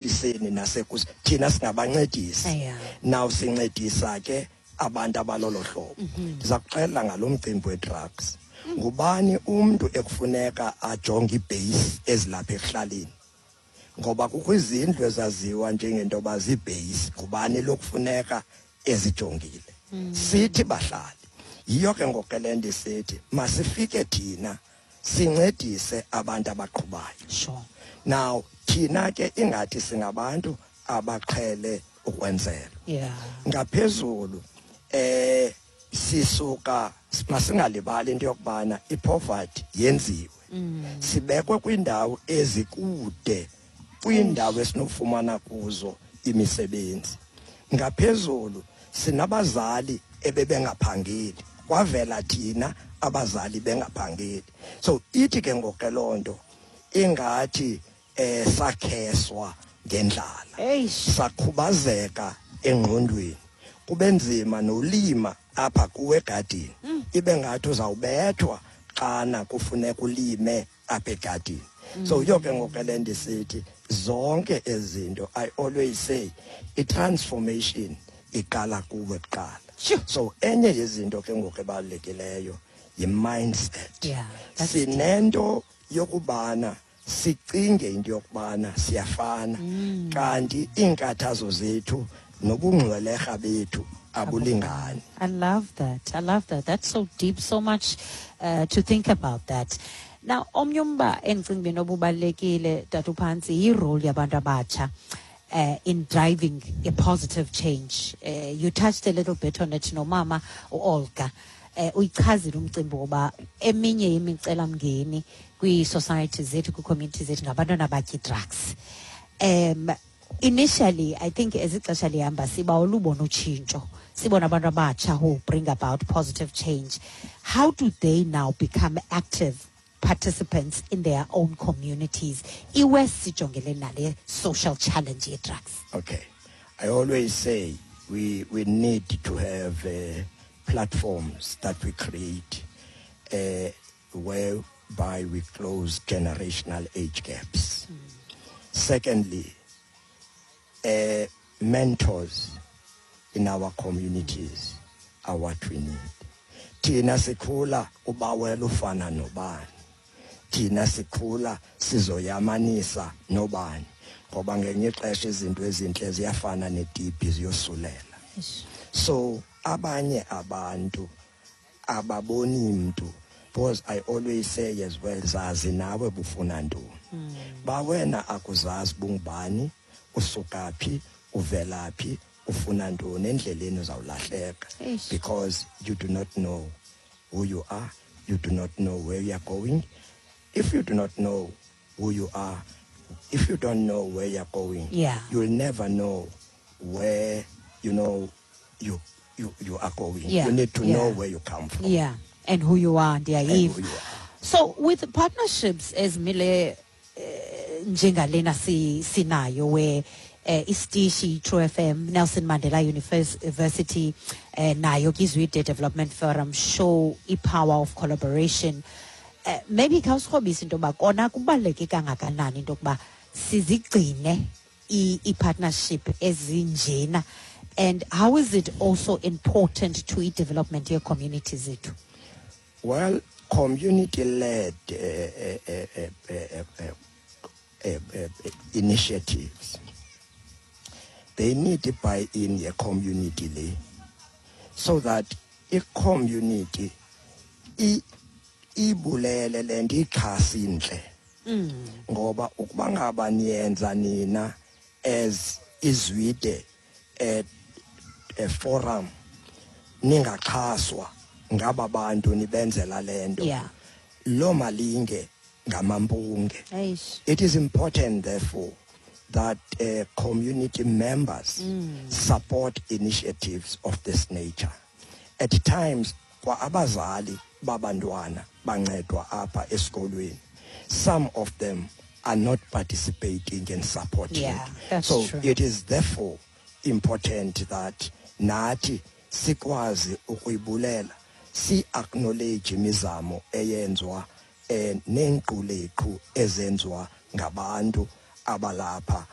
Iseni nasekus thina singabancedisi. Now sincedisa ke abantu abalolo hlobo. Ndiza kuxelela ngalo mcimbi we-drugs. Ngubani umntu ekufuneka ajonge iibheyisi ezilapha ekuhlaleni? Ngoba kukho izindlu ezaziwa njengento yoba ziibheyisi. Ngubani lokufuneka ezijongile? Sithi bahlali. Yiyo ke ngoku ke le nto isithi masifike thina sincedise abantu abaqhubayo. Now thina ke ingathi singabantu abaqhele ukwenzela. Ngaphezulu sisuka masingalibali into yokubana ipoverty yenziwe. Sibekwe kwindawo ezikude, kwindawo esinofumana kuzo imisebenzi. Ngaphezulu sinabazali ebebengaphangeli, kwavela thina abazali bengaphangeli. So ithi ke ngoku ke loo nto ingathi sakheswa ngendlala. Sakhubazeka engqondweni, kube nzima nolima apha kuwe egadini. Ibe ngathi uzawubethwa xana kufuneka ulime apha egadini. So yiyo ke ngoku ke le nto isithi zonke ezi zinto, I always say i-transformation iqala kuwe kuqala. So enye yezinto ke ngoku ebalulekileyo yi-mindset. Yeah, that's deep. Sinento yokubana sicinge into yokubana siyafana, kanti iinkathazo zethu nobungcwelerha bethu abulingani. I love that. I love that. That's so deep, so much to think about that. Now, omnye umba endicinga uba inoba ubalulekile, Tata uPhantsi, yi-role yabantu abatsha in driving a positive change. You touched a little bit on it nomama uOlga. Uyichazile umcimbi woba eminye yemicelamngeni kwii-societies zethu, kwii-communities zethu ngabantwana abatya ii-drugs. Initially, I think as ixesha lihamba siba olubona utshintsho, sibona abantu abatsha who bring about positive change. How do they now become active participants in their own communities? Iwest sijongele nale social challenge ye-drugs. Okay. I always say we need to have platforms that we create whereby we close generational age gaps. Secondly, mentors in our communities are what we need. Thina sikhula ubawela ufana nobani. Thina sikhula sizoyamanisa nobani. Ngoba ngelinye ixesha izinto ezintle ziyafana netibhi, ziyosulela. So abanye abantu ababoni mntu, because I always say as well, zazi nawe bufuna ntoni. Ba wena akuzazi bungubani, usuka phi, uvela phi, ufuna ntoni, endleleni uzawulahleka. Because you do not know who you are, you do not know where you are going. If you do not know who you are, if you don't know where you are going, you'll never know where you are going. You need to know where you come from. Yeah, and who you are, And ndiyayiva. who you are. So with partnerships ezimile njengalena sinayo where isitishi True FM, Nelson Mandela University, nayo Kizwide Development Forum show i-power of collaboration. Maybe khawusikrobise into yoba kona kubaluleke kangakanani into yokuba sizigcine i-partnership ezinjena, and how is it also important to i-development ye-community zethu? Well, community-led initiatives, they need to buy in the community le, so that i-community ibulele le nto ixhasa intle. Ngoba ukuba ngaba niyenza nina as iZwide a forum, ningaxhaswa ngaba bantu nibenzela le nto, lo malinge ngamampunge. It is important therefore that community members support initiatives of this nature. At times kwa abazali babantwana bancedwa apha esikolweni, some of them are not participating and supporting. Yeah, that's So true. it is therefore important that nathi sikwazi ukuyibulela, si acknowledge imizamo eyenzwa neenquleqhu ezenziwa ngabantu abalapha.